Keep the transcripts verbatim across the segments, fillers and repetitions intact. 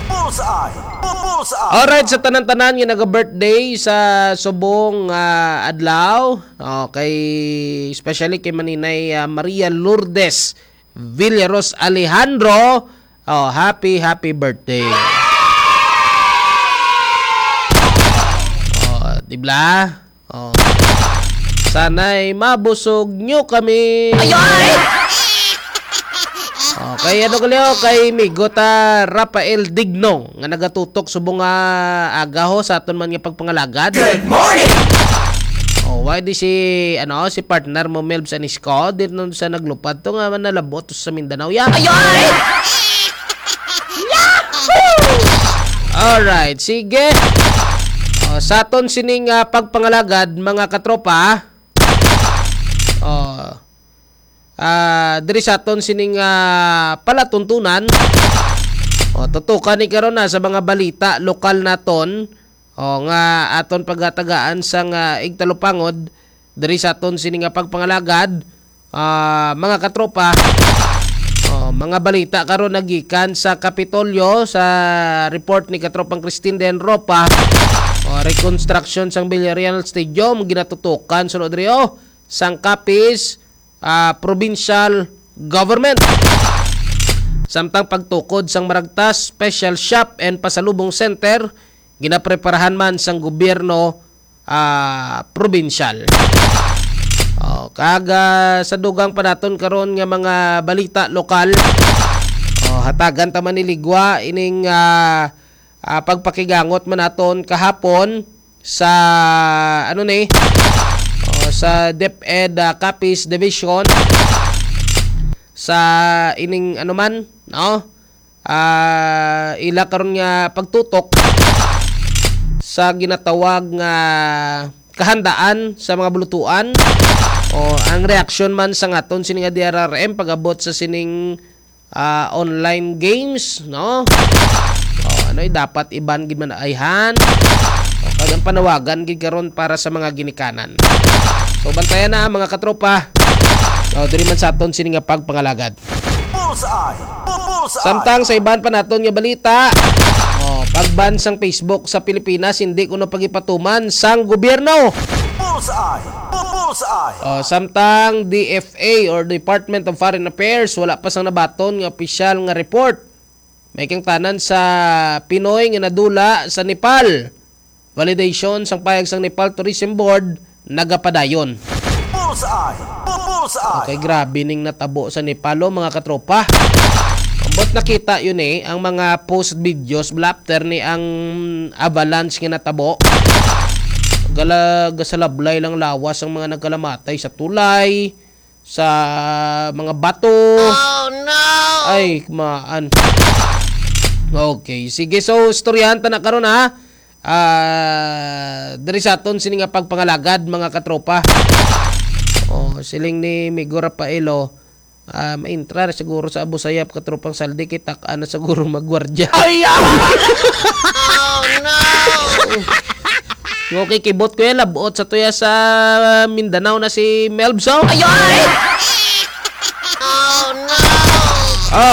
Bullseye! Bullseye! Alright, sa tanan-tanan nga naga-birthday sa subong, ah, adlaw, okay, especially kay Maninay, ah, Maria Lourdes Villaros Alejandro, oh, happy, happy birthday. Oh, di ba? Oh. Sana'y mabusog nyo kami. Ay, ay! Okay, ano gali, oh, kay Migo ta Rafael Digno nga nagatutok subong nga aga ho sa aton man nga pagpangalagad. Good morning! Oh, why di si, ano, si partner mo, Melbs Anisco, di nun sa naglupad to nga manalabot sa Mindanao. Ya! Ay, ay! Alright, sige. Oh, sa aton sining, ah, pagpangalagad, mga katropa. Oh. Ah, diri sa aton sining, ah, palatuntunan. Oh, tutukan ni karon na sa mga balita lokal naton. Oh, nga aton pagatagaan sang, ah, igtalupangod diri sa aton sini nga pagpangalagad, ah, mga katropa. Oh, mga balita karon nagikan sa Kapitolyo sa report ni Katropang Christine Den Ropa. Oh, reconstruction sang Villarreal Stadium ginatutukan suno diri, oh, sang Capiz, ah, Provincial Government. Samtang pagtukod sang Maragtas Special Shop and Pasalubong Center, ginapreparahan man sang gobyerno, ah, probinsyal. Oh, kag, ah, sa dugang pa naton karon nga mga balita lokal, oh, hatagan ta man ni ligwa ining, ah, ah, pagpakigangot man naton kahapon sa, ano ni, oh, sa DepEd, ah, Capiz Division sa ining, ano man, no? Ah, ila karon nga pagtutok sa ginatawag nga kahandaan sa mga bulutuan o ang reaksyon man sa ngaton sini nga D R R M pag-abot sa sining, ah, online games, no? O, ano, eh, dapat iban gid man ayhan. O, kag ang panawagan gid karon para sa mga ginikanan. So, bantayan na, mga katropa. O, diri man sa aton sini nga pagpangalagad. Bullseye! Bu-, bullseye! Samtang sa iban pa naton nga balita, oh, pag-ban sang Facebook sa Pilipinas, hindi kuno pagipatuman sang gobyerno. Bullseye! Bu-, bullseye! Oh, samtang D F A or Department of Foreign Affairs, wala pa sang nabaton nga opisyal nga report. May kangtanan sa Pinoy nga nadula sa Nepal. Validation sang pahayag sang Nepal Tourism Board nagapadayon. Bullseye! Bu-, bullseye! Okay, grabe ning natabo sa Nepal, oh, mga katropa. Ambot nakita yun, eh, ang mga post videos bala after ni ang avalanche nga natabo. Gala-, gasalablay lang lawas ang mga nagkalamatay sa tulay, sa mga bato. Oh, no! Ay, maan. Okay, sige. So, istoryahan ta na karon, ha. Ah, diri sa aton sini nga pagpangalagad, mga katropa. Oh, siling ni Migo Rafaelo, ah, maintra na siguro sa Abu Sayyaf, katropang Saldi, kita ka na siguro magwardya. Ay, ah! Oh, no! Okay, kibot ko yan, labot sa tuya sa Mindanao na si Melbs, oh. Ay, ay! Oh, no!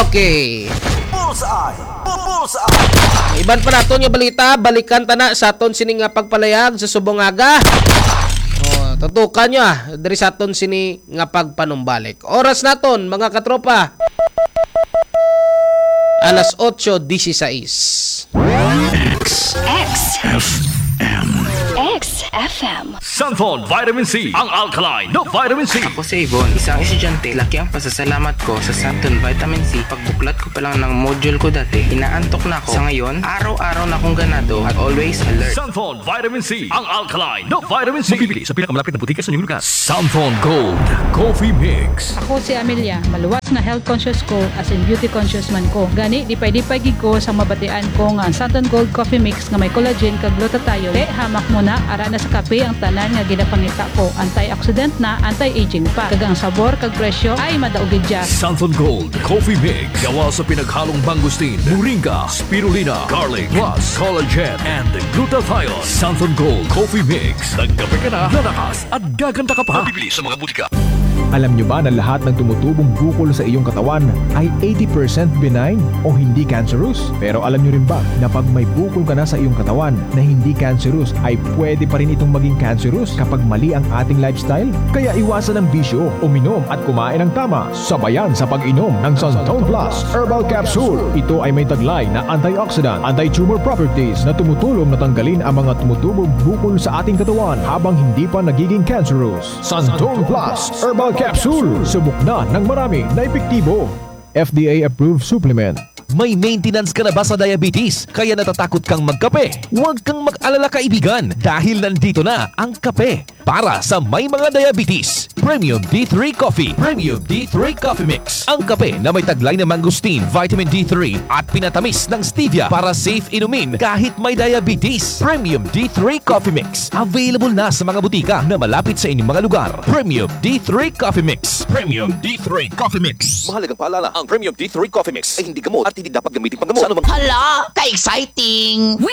Okay. Bullseye! Bu-, bullseye! Iban pa naton nga balita, balikan ta na sa aton sini nga pagpalayag sa subong aga. Oh, tutukan nyo, ah, diri sa aton sini nga pagpanumbalik. Oras naton, mga katropa. Alas otso dieciséis. X. X. F M. X F M. Santhon Vitamin C, ang alkaline na vitamin C. Ako si Yvonne, isang estudyante. Laki ang pasasalamat ko sa Santon Vitamin C. Pagbuklat ko pa lang ng module ko dati, inaantok na ako. Sa ngayon, araw-araw na akong ganado at always alert. Santhon Vitamin C, ang alkaline na vitamin C. Mabibili sa pinakamalapit na butika sa inyong lugar. Santhon Gold Coffee Mix. Ako si Amelia. Maluwas nga health conscious ko, as in beauty conscious man ko. Gani, lipay-lipay gid ko sa mabatian ko nga ang Santon Gold Coffee Mix nga may collagen kag glutathione. Te, hamak mo na, ara na sa kape ang tanan nga ginapangita ko. Antioxidant na, anti-aging pa. Kag ang sabor kag presyo ay madaog gid dya. Santon Gold Coffee Mix. Gawa sa pinaghalong mangosteen, moringa, spirulina, garlic, plus collagen and glutathione. Santon Gold Coffee Mix. Nagkape ka na, lalakas at gaganda ka pa. Mabibili sa mga butika. Alam nyo ba na lahat ng tumutubong bukol sa iyong katawan ay eighty percent benign o hindi cancerous? Pero alam nyo rin ba na pag may bukol ka na sa iyong katawan na hindi cancerous, ay pwede pa rin itong maging cancerous kapag mali ang ating lifestyle? Kaya iwasan ang bisyo, uminom at kumain ng tama. Sabayan sa pag-inom ng Santon Plus Herbal Capsule. Ito ay may taglay na antioxidant, anti-tumor properties na tumutulong na tanggalin ang mga tumutubong bukol sa ating katawan habang hindi pa nagiging cancerous. Santon Plus Herbal Capsule. Subok na ng marami na epektibo. F D A approved supplement. May maintenance ka na ba sa diabetes? Kaya natatakot kang magkape? Huwag kang mag-alala, kaibigan, dahil nandito na ang kape para sa may mga diabetes. Premium D three Coffee. Premium D three Coffee Mix. Ang kape na may taglay na mangosteen, vitamin D three at pinatamis ng stevia para safe inumin kahit may diabetes. Premium D three Coffee Mix. Available na sa mga butika na malapit sa inyong mga lugar. Premium D three Coffee Mix. Premium D three Coffee Mix. Mahalagang paalala, ang Premium D three Coffee Mix ay hindi gamot at hindi dapat gamitin panggamot. Sa anumang Hala, ka-exciting!